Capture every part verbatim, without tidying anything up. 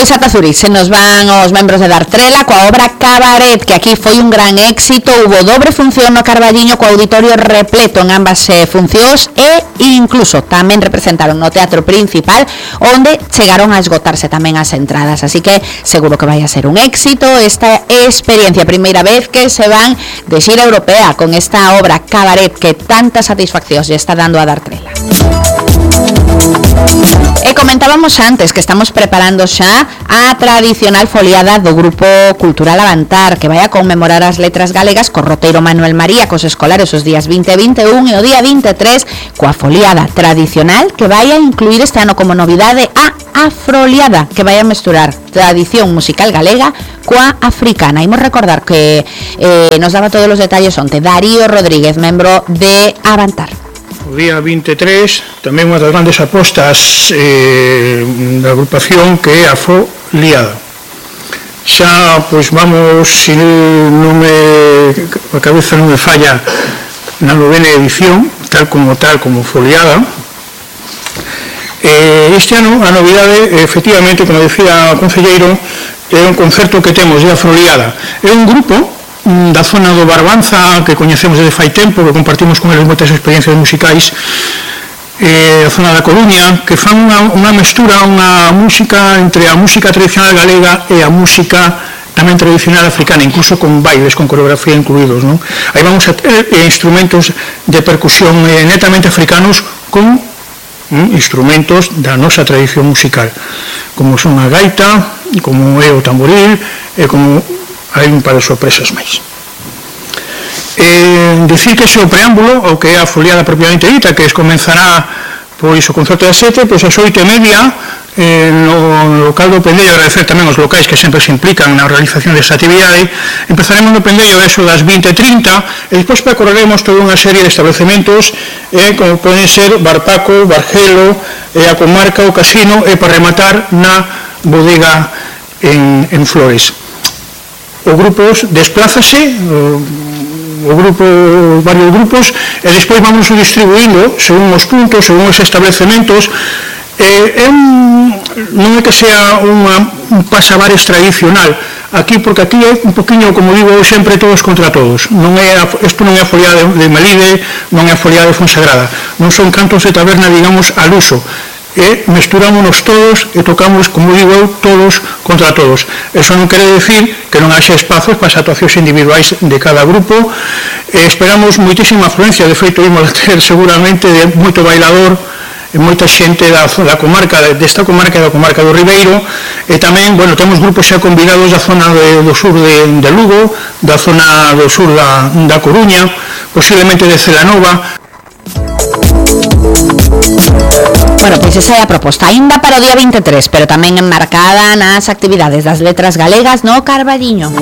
Pois ata Zurich se nos van os membros de Dartrela coa obra Cabaret, que aquí foi un gran éxito. Hubo dobre función no Carballiño co auditorio repleto en ambas eh, funcións e incluso tamén representaron no Teatro Principal, onde chegaron a esgotarse tamén as entradas. Así que seguro que vai a ser un éxito esta experiencia, primeira vez que se van de xira europea con esta obra Cabaret que tantas satisfaccións lle está dando a Dartrela. E comentábamos antes que estamos preparando xa a tradicional foliada do Grupo Cultural Avantar, que vai a conmemorar as letras galegas co roteiro Manuel María cos escolares os días vinte e vinte e un e o día vinte e tres coa foliada tradicional que vai a incluir este ano como novidade a Afroliada, que vai a mesturar tradición musical galega coa africana. Imos recordar que eh, nos daba todos os detalles onte Darío Rodríguez, membro de Avantar. O día vinte e tres, tamén unha das grandes apostas eh, da agrupación que é a Afroliada. Xa, pois vamos, se non me, a cabeza non me falla, na novena edición, tal como tal, como Foliada. Eh, este ano, a novidade, efectivamente, como decía o concelleiro, é un concerto que temos de Afroliada. É un grupo da zona do Barbanza que coñecemos desde fai tempo, que compartimos con eles moitas experiencias musicais, eh, a zona da Coruña, que fan unha, unha mestura, unha música entre a música tradicional galega e a música tamén tradicional africana, incluso con bailes, con coreografía incluídos, non? Aí vamos a ter eh, instrumentos de percusión eh, netamente africanos con mm, instrumentos da nosa tradición musical, como son a gaita, como é o tamboril, e como hai un par de sorpresas máis. Eh, decir que ese o preámbulo, o que é a foliada propiamente dita, que es comenzará pois o concerto das sete, pois as oito e media eh, no local do Pendello. Agradecer tamén os locais que sempre se implican na realización desta actividade. Empezaremos no Pendello eso das vinte e trinta e despois percorreremos toda unha serie de establecementos eh, como poden ser Barpaco, Bargelo, eh, a comarca, o casino e para rematar na bodega en, en Flores. O grupo desplázase, o, o grupo, varios grupos, e despois vamos distribuindo según os puntos, según os establecementos. Eh, é un, non é que sea unha, un pasabares tradicional aquí, porque aquí é un poquinho, como digo sempre, todos contra todos. Non é, isto non é a foliada de, de Melide, non é a foliada de Fonsagrada, non son cantos de taberna, digamos, al uso. E mesturámonos todos e tocamos, como digo eu, todos contra todos. Eso non quere decir que non haxe espazos para as actuacións individuais de cada grupo. E esperamos moitísima afluencia, de feito imos a ter seguramente de moito bailador e moita xente da, da comarca, desta comarca e da comarca do Ribeiro, e tamén, bueno, temos grupos xa convidados da zona de, do sur de, de Lugo, da zona do sur da, da Coruña, posiblemente de Celanova. Bueno, pois esa é a proposta, ainda para o día vinte e tres, pero tamén enmarcada nas actividades das letras galegas no Carballiño.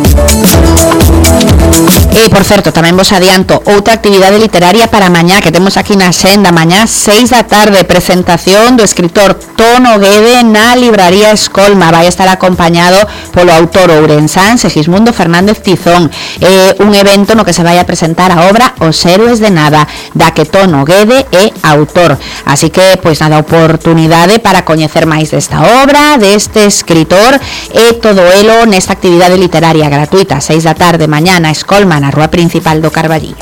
E, por certo, tamén vos adianto outra actividade literaria para mañá, que temos aquí na senda, mañá seis da tarde, presentación do escritor Tono Guede na libraría Escolma. Vai estar acompañado polo autor ourensán Segismundo Fernández Tizón. É un evento no que se vai a presentar a obra Os Héroes de Nada, da que Tono Guede é autor. Así que, pois nada, oportunidade para coñecer máis desta obra, deste escritor, e todo elo nesta actividade literaria gratuita, seis da tarde, mañá na Escolma, na rúa principal do Carballiño.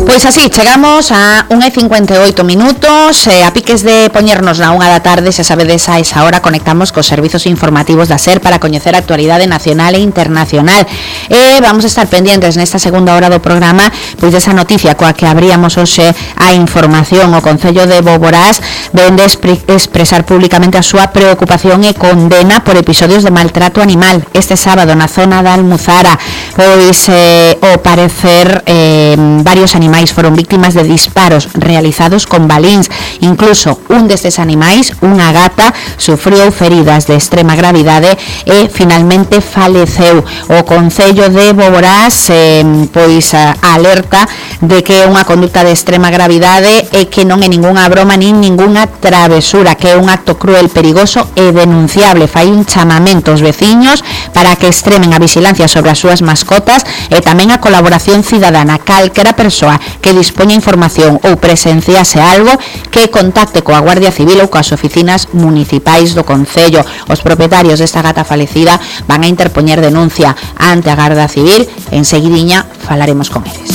Pois así, chegamos a unha e cincuenta e oito minutos, eh, a piques de poñernos na unha da tarde, se sabedes a esa hora conectamos cos servizos informativos da SER para coñecer a actualidade nacional e internacional. E vamos a estar pendientes nesta segunda hora do programa pois desa noticia coa que abríamos hoxe a información. O Concello de Boborás vende expresar públicamente a súa preocupación e condena por episodios de maltrato animal este sábado na zona da Almuzara. Pois, eh, ao parecer, eh, varios animais foron víctimas de disparos realizados con balíns. Incluso un destes animais, unha gata, sufriu feridas de extrema gravidade e finalmente faleceu. O Concello de Boborás eh, pois alerta de que unha conducta de extrema gravidade é que non é ningunha broma nin ningunha travesura, que é un acto cruel, perigoso e denunciable. Fai un chamamento aos veciños para que extremen a vigilancia sobre as súas mascotas e tamén a colaboración cidadana. Calquera persoa que dispoña información ou presenciase algo, que contacte coa Guardia Civil ou coas oficinas municipais do Concello. Os propietarios desta gata falecida van a interpoñer denuncia ante a Garda Civil. En seguidiña falaremos con eles.